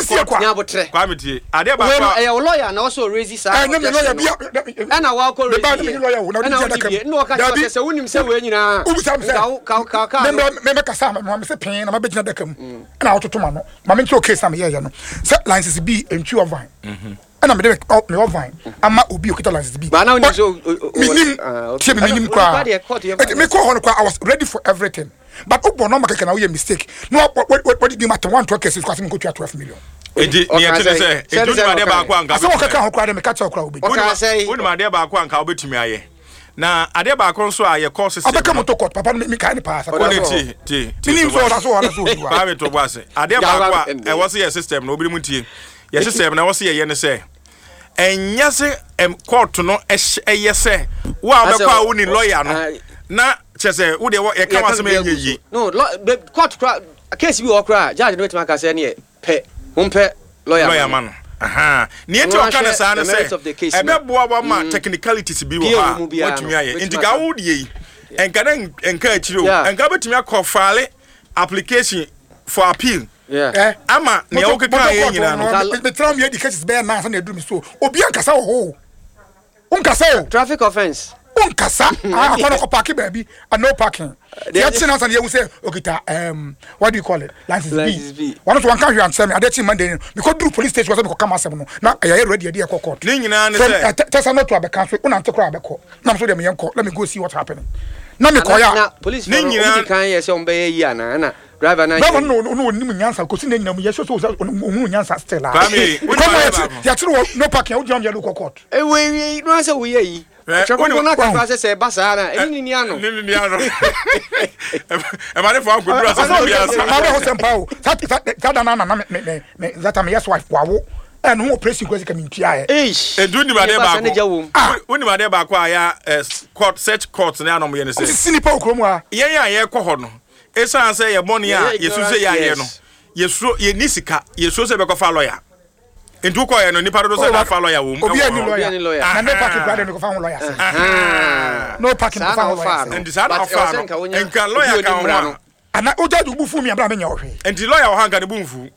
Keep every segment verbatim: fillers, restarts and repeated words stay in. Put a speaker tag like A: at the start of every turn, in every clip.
A: sie
B: court-
A: kwa.
C: Nyabotrɛ.
B: Kwame, tie adeɛ
C: Wei
B: baako
C: no
B: a
C: ɛyɛ wo lawyer na wɔsɛ ɔraise saa
A: Ɛnyɛ me lawyer
C: objection no.
A: bia.
C: Ɛna wakɔ
A: Me ba
C: raise
A: ne me
C: yɛ.
A: lawyer wo na wode
C: Ɛna
A: di
C: wodi
A: adaka
C: bie.
A: mu.
C: Ɛna wɔka kyerɛ
A: Dabi.
C: sɛ sɛ wonim sɛ wei nyinaa
A: Wobisa me sɛ
C: nka wo- ka ka ka
A: me me me kasa ma me sɛ pɛn na mabɛgyina daka mu ɛna wototo ma no ma me nkyerɛ case na meyɛyɛ no sɛ license B ntwi ɔvan, ɛna mede me ɔvan ama obi okita license B.
C: Ba na wonim sɛ o- o- o-
A: Menim.
C: Ah, okay.
A: Tie me, menim
C: Ɛna
A: koraa.
C: onipa deɛ, court yɛ-
A: Ɛnti mekɔ hɔ no koraa, I was ready for everything, but wobɔ nɔma kɛkɛ na woyɛ mistake na wɔde di ma tɛn wantoa kɛse so asɛ menkɔtua twelve million.
B: Enti neɛ ɛte ne sɛ
C: Sɛ-
B: enti wonim
C: sɛ
B: adeɛ
C: ɔka
B: baako a nka
A: Asɛ
B: wobɛtumi
A: wɔkɛka ho koraa de meka kyerɛ wo koraa wobɛdi.
C: Ɔka sɛ-
B: Wonim adeɛ baako a nka wobɛtumi ayɛ, na adeɛ baako nso a yɛkɔ system
A: Ɔbɛka
B: no-
A: moto court papa no, mekae ne paa sɛ
B: Wone tie, tie tie.
A: Menim
B: To
A: sɛ
B: bo
A: ɔda
B: ase.
A: so ɔda so ɔdi wa.
B: Kwame, to bo ase. Adeɛ baako a ɛwɔ sɛ yɛ system no, obi mu tie, yɛ system no, ɛwɔ sɛ yɛyɛ ne sɛ ɛnyɛ sɛ ɛm court no ɛhyɛ, ɛyɛ sɛ wo a wobɛkɔ a woni lawyer no
C: Ah.
B: na kyerɛ sɛ wo deɛ wɔ- yɛka w'asɛm ɛnyɛ yie.
C: No, law- be- court kora, case bi wɔ kora, judge no bɛtumi aka sɛ neɛ pɛ wompɛ lawyer.
B: Lawyer ma no. Aha. Neɛ nti
C: Ɔno
B: ɔka no
C: ahwɛ
B: saa no
C: the merits
B: sɛ
C: of the case no.
B: ɛbɛboa wa ma technicalities bi wɔ
C: Bia
B: hɔ
C: wɔ
B: a
C: mu biara
B: watumi
C: no,
B: ayɛ.
C: wobɛtumi
B: Nti ka
C: aka.
B: wo deɛ yi ɛnka dɛ nka akyire o,
C: Yeah.
B: ɛnka wobɛtumi akɔ file application for appeal
C: Yeah.
A: Eh?
B: ama nea wokeka yɛ nyinaa no.
A: Metena mu yɛdi cases bɛyɛ nan sɛ na ɛduru me so, obi ankasa wɔ hɔ o, wonkasa o.
C: Traffic offence.
A: Wonkasa akɔ no kɔ park baabi a no parking. Yɛkye no ansa na yɛhu sɛ okita um, what do you call it, license
C: License
A: B.
C: B.
A: Wɔno so wanka hwee ankyerɛ me. Adeɛ kye Monday no, mekɔduru police station sɛ mekɔka m'asɛm no na ɛyɛ ready ɛde yɛkɔ court.
B: Ne nyinaa ne
A: From
B: sɛ
A: eh, Tɛ- tɛsa no to abɛka so wonante koraa abɛkɔ nam so deɛ meyɛnkɔ, let me go see what's happening na mekɔyɛ
C: Na
A: a
C: police
B: Ne
C: fo no
B: nyinaa-
C: ɔmo di kan yɛ sɛ ɔmo bɛyɛ yi ana ɛna driver na
A: driver no no onim nyansa kòsi ne nyinam yɛ sɛ sɛ ohun nyansa still a
B: Kwame, wonim
A: kɔmɔ
B: adeɛ baako.
A: yɛkyerɛ wɔ no parking a wogyina mu yɛde kɔ court.
C: Ewe ewie no sɛ woyɛ yi
B: Eh,
C: ɔtwɛ
B: wonim-
C: kɔnkɔn na kakra sɛ sɛ ɛba saa na ɛne ne ni ano.
B: Ne ne ni ano ɛma ne fa akɔduru asase bi ase.
A: Maa bɛ hɔ sɛm paa o. saa saa saa da na na me me me me zata me yes wife wawo ɛno ho operation kura sika mi ntua yɛ.
C: Eish.
B: Edu nim adeɛ
C: Ɛba saa ne gya
B: baako
C: wom.
A: Ah.
B: Wonim adeɛ baako a yɛ ɛ court, search court ne anom yɛ ne sɛ
A: sisi nipa wɔ kurom ha.
B: Yɛn a yɛkɔ hɔ no, ɛsiane sɛ yɛ bɔne a
C: Yɛyɛ
B: yɛsu sɛ yɛayɛ no,
C: yes.
B: yɛsuro yɛni sika, yɛsuro sɛ bɛkɔfa lawyer. Nti wokɔyɛ no, nipa dodo sɛ nafa lawyer wɔ mu.
A: Obi
B: ɛwɔ
A: ani
B: hɔ.
C: Obi ani
A: lawyer
C: lawyer.
A: na no parking kura de mi kɔfa ho lawyer sɛ
B: Aha.
A: no parking
C: Saa
A: kɔfa
C: na
A: ho
C: ɔfaa
A: lawyer
C: no.
A: sɛ
B: Nti saa na
C: But
B: ɔfaa
C: ɛwɔ sɛ
B: no.
C: nka wonya
B: Nka lawyer
C: obi a
B: ka
C: ɔdi
B: ho
C: mmara
B: a
C: no.
A: Ana o judge bu fu mi abira mi nya ɔhwɛ.
B: Nti lawyer wɔ ha nka ne bu mfu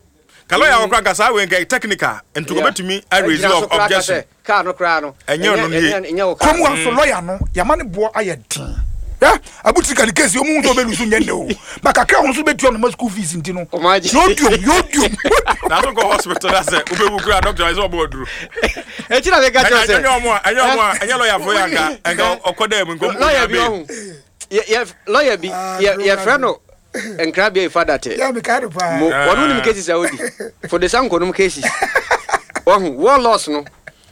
B: ka lawyer wɔ kora nka saa wei nka technical nti
C: Yeah.
B: kɔbɛtumi araise
C: Ɛgyina so koraa ka
B: objection.
C: sɛ car no koraa no
B: Ɛnyɛ ɔno nie.
C: ɛnyɛ ɛnyɛ wo car.
A: Kurom ha nso lawyer no yama ne boɔ ayɛ den ya abutiri ka ne case omu nso bɛ lusu nyɛ ne o ba kakra wɔn nso bɛ tua no ma school fees nti no.
C: Ɔmo agye.
A: Yóò diom, yóò diom.
B: Na so nkɔ hospital na sɛ wobɛwu kora, doctor ɛsɛ ɔbɔ aduro.
C: Ɛnti na meka kyerɛ sɛ
B: ɛnyɛ ɔmo a ɛnyɛ ɔmo a ɛnyɛ lawyer fo yɛ anka ɛnka ɔkɔ dɛ mu nkɔ.
C: Lawyer bi ɔhu yɛ yɛ lawyer bi yɛ yɛfrɛ no Nkrabea Ifa Date.
A: Yɛ mi ka de paa.
C: Mo wɔn nim cases a wodi for the sanko nom cases wɔhu war loss no,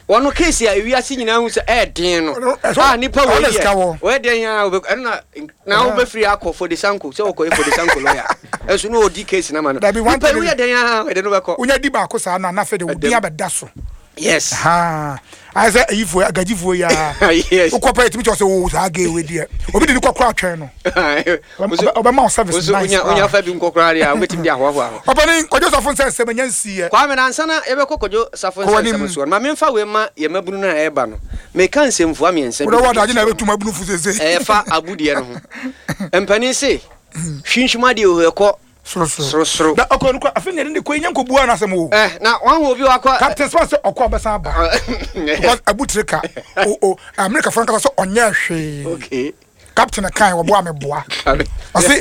C: wɔn case a ewiase nyinaa hu sɛ ɛɛden no
A: Ɔno- ɛsɛ-
C: a nipa wɔ
A: ɔno sika
C: yɛ
A: wɔ.
C: wɔyɛ den a wɔbɛ ɛno na na wɔbɛfiri akɔ for the sanko sɛ wɔkɔ yɛ for the sanko lawyer ɛnso na ɔdi case na ma no.
A: Dabi, one
C: nipa
A: thing
C: yi woyɛ den a wɔde no bɛkɔ.
A: Wonya di baako saa na anafɛ de wo din
C: Ɛdɛm.
A: abɛda so.
C: Yes.
A: Haa, ayɛ sɛ ayifoɔ agagyifoɔ yi a
C: yes
A: wokɔ pɛ yɛtumi kyerɛ sɛ wo saa gay wei deɛ obi de ne kɔkora atwɛn no. Ɔbɛ- ɔbɛma wo service
C: Woso
A: nice
C: wonya
A: paa.
C: Wonya fa bi nkɔ koraa deɛ a wobɛtumi de ahoahoa ho.
A: Ɔpɛni Kwadwo Safo nsɛ nsɛm ɛnya nsiiɛ.
C: Kwame, nansa na yɛbɛkɔ Kwadwo Safo
A: Kɔ w'anim.
C: nsɛm soɔ no, ma memfa wei ma yɛ mabunu no a ɛreba no. Meka nsɛmfua mmiɛnsa bi.
A: Wode wɔ adagye na ɛbɛtum abunu fu sese.
C: Ɛyɛfa abudeɛ no ho. Mpanin se hwinhwim adeɛ wɔ ɛkɔ
A: sorosoro.
C: Sorosoro.
A: Na ɔkɔ no kɔ afei ne yɛde ne kɔ yi nya nkɔbua no asɛm o.
C: Eh, na wahu obi wakɔ
A: Captain Smart sɛ ɔkɔ ɔbɛsan aba because abutere ka o o America fo nkasa sɛ ɔnyɛ hwee.
C: Okay
A: Captain kan wɔboa me boa ɔse.